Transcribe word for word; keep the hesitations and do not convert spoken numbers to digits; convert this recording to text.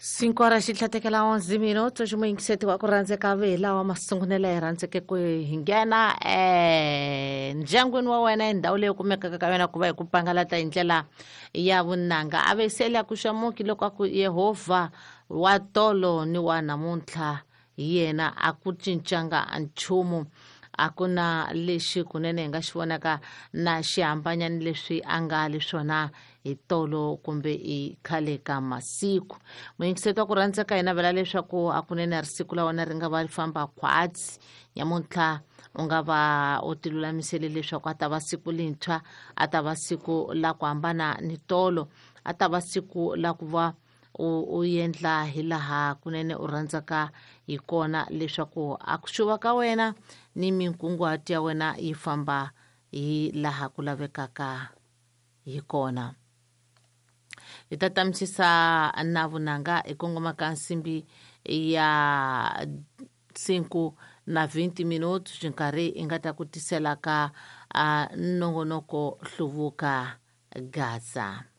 Cinco horas xi tlhatekela onze minuto ximuyingiseti wa ku rhandzeka ve lawa masungunelo hi rhandzeke ku hi nghena eh ndyangwini wa wena hi ndhawu leyi kumekaka ka yona ku va hi ku pangalata hi ndlela ya vunanga a ve sele a ku xamuki loko a ku Yehovha wa tolo ni wa namuntlha hi yena a ku cincanga nchumu a ku na lexi kunene hi nga xi vonaka na xi hambanya ni leswi a nga le swona hi tolo kumbe i khale ka masiku. Muyingiseti wa ku rhandzeka hi navela leswaku a kunene ri siku la wena ri nga va ri famba khwatsi nyamuntlha u nga va u ti lulamisele leswaku a ta va siku lintshwa, a ta va siku la ku hambana ni tolo, a ta va siku la ku va u u endla hi laha kunene u rhandzaka hi kona leswaku a ku xuva ka wena ni minkunguhato ya wena yi famba hi laha ku lavekaka hi kona. Hi ta tamisisa na vunanga hi kongoma ka nsimbi ya cinco na vinte minutos nkarhi hi nga ta ku tisela ka uh, nongonoko Hluvuka Gaza.